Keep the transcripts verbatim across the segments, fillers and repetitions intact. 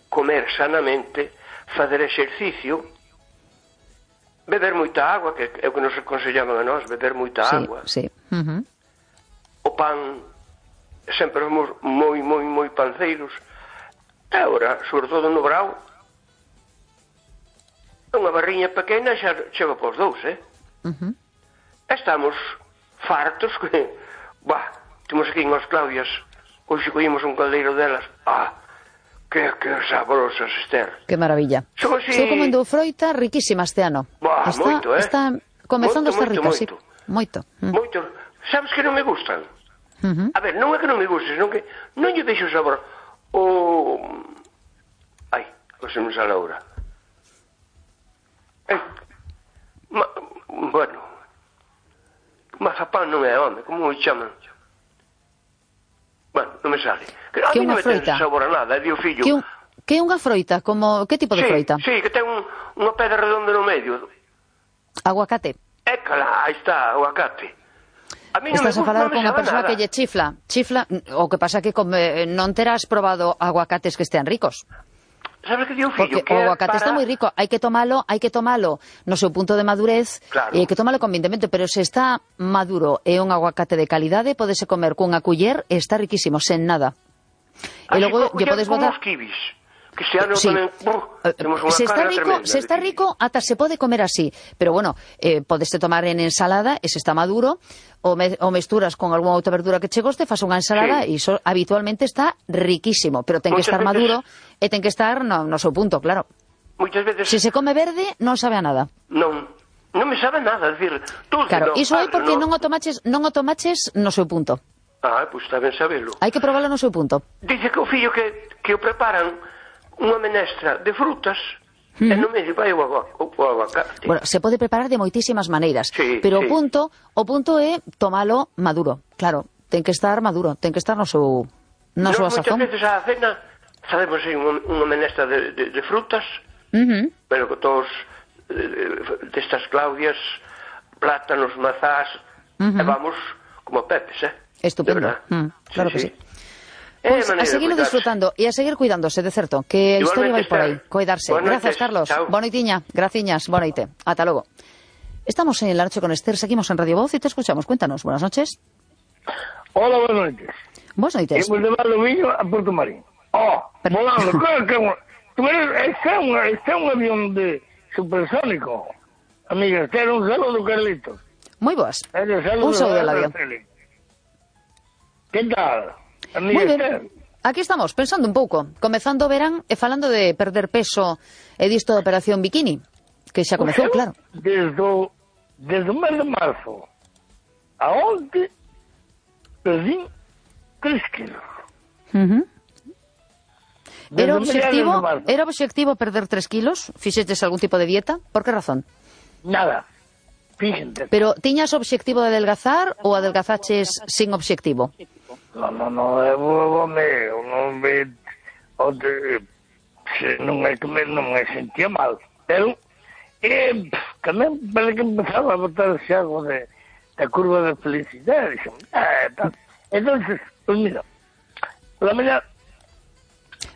comer sanamente, fazer exercicio, beber moita agua, que é o que nos aconsellaban a nós, beber moita sí, agua. Sí. Uh-huh. O pan, sempre fomos moi, moi, moi panceiros. E agora, sobre todo no brao, unha barriña pequena xa chega para os dous, eh? Uh-huh. Estamos fartos que, bah, temos aquí en Os Claudias, hoxe coímos un caldeiro delas, ah, que, que sabrosas, Esther. Que maravilla. Son así... Estou comendo froita riquísima este ano. Bah, está, moito, eh? Está comezando moito, a estar rica, moito, sí. Moito. Mm. Moito. Sabes que non me gustan? Uh-huh. A ver, non é que non me guste, senón que non lle vexo sabor. O... Ai, o se non sale ahora. Eh, ma... Bueno, mazapán non é, home, como me chaman? Bueno, non me sale. Que a que mí non me ten froita? sabor a nada, di o fillo. Que, un, que unha froita? Como, que tipo de sí, froita? Sí, que ten un, unha pedra redonda no medio. Aguacate. Écala, aí está, aguacate. A mí non Estás me a falar gusta, con unha non me persoa sabe que lle chifla. Chifla, o que pasa que come, non terás probado aguacates que estean ricos. Sabes que di o fillo? Porque que o aguacate para... está moi rico, hai que tomalo, hai que tomalo no seu punto de madurez, claro. E hai que tomalo convintemente, pero se está maduro e un aguacate de calidade, podese comer cunha culler e está riquísimo, sen nada. E logo lle podes botar os kibis. Que este ano sí. tamén, uh, temos unha se está carga rico, tremenda. se está rico, ata se pode comer así, pero bueno, eh, podeste tomar en ensalada, e se está maduro, o, me, o mesturas con algunha outra verdura que che goste, faz unha ensalada, e sí. Iso habitualmente está riquísimo, pero ten Muchas que estar veces... maduro e ten que estar no, no seu punto, claro. Muchas veces... Se se come verde, non sabe a nada. Non, non me sabe nada, decir, tú claro, no, iso é porque no... non o tomaches, non o tomaches no seu punto. Ah, pois pues está ben sabelo. Hai que probarlo no seu punto. Dice que o fillo que, que o preparan unha menestra de frutas, mm. e no medio vai o aguacate. Bueno, se pode preparar de moitísimas maneiras, sí, pero sí. o punto o punto é tomalo maduro. Claro, ten que estar maduro, ten que estar no seu na súa sazón. Moitas veces a cena sabemos aí unha, unha menestra de, de, de frutas, uh-huh. pero que todos eh, destas Claudias, plátanos, mazás, uh-huh. e vamos como pepes, eh? Estupendo, mm, claro sí, que sí, sí. Pues a seguirlo disfrutando e a seguir cuidándose, de certo, que a historia vai por aí, cuidarse. Gracias, Carlos. Bonoitiña, graciñas, bonoite. Ata logo. Estamos en La Noche con Esther, seguimos en Radio Voz y te escuchamos. Cuéntanos, buenas noches. Hola, buenas noches. Buenas noches. Hemos de Valdoviño a Puerto Marín. Oh, volando, claro que tú eres, este é un, este é un avión de supersónico. Amiga, este era un saludo, Carlitos. Moi boas. Un saludo del avión. Que tal? Moi ben, aquí estamos, pensando un pouco, comezando o verán e falando de perder peso e disto da operación bikini, que xa comezou, claro. Desde o, desde o mes de marzo a onte perdi tres kilos. Uh-huh. Era obxectivo, era obxectivo perder tres kilos? Fixeches algún tipo de dieta? Por que razón? Nada, fíxente. Pero tiñas obxectivo de adelgazar ou adelgazaches sin obxectivo? No, no, no, é home, non me, onde, se, non é que me, non me sentía mal, pero, e, tamén parece que empezaba a botar xa algo de, da curva de felicidade, dixo, eh, tal. Entonces, pues mira, por la mañana,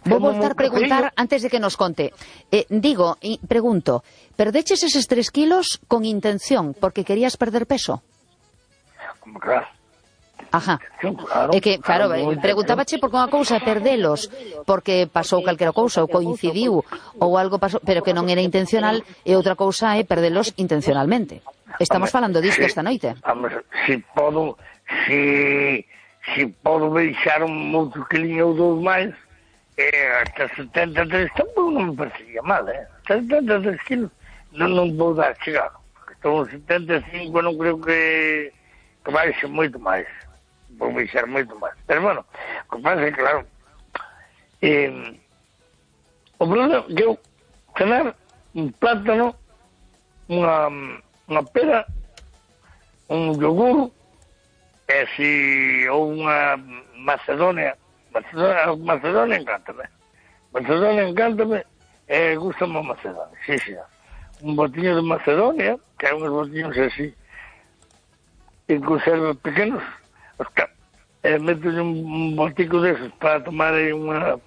vou voltar a preguntar antes de que nos conte. Eh, digo, y pregunto, perdeches eses tres kilos con intención, porque querías perder peso? Como claro. Ajá. É que, claro, preguntábache por unha cousa perdelos, porque pasou calquera cousa, ou coincidiu, ou algo pasou, pero que non era intencional, e outra cousa é perdelos intencionalmente. Estamos falando disto esta noite. Si podo, si, si podo deixar un outro quilinho ou dous máis, eh, hasta setenta e tres tampouco non me parecería mal, eh? setenta e tres kilos non, non vou dar chegado. Estou en setenta e cinco, non creo que, que vai ser moito máis. Vou deixar moito máis. Pero, bueno, o que pasa é, claro, eh, o problema é que eu cenar un plátano, unha, unha pera, un yogur, e si, ou unha macedonia, macedonia, macedonia encántame. Macedonia encántame, e gustame a macedonia, sí, sí. Un botiño de macedonia, que hai uns botiños así, en conservas pequenos, Oscar, eh, meto un, un botico desos para tomar aí unha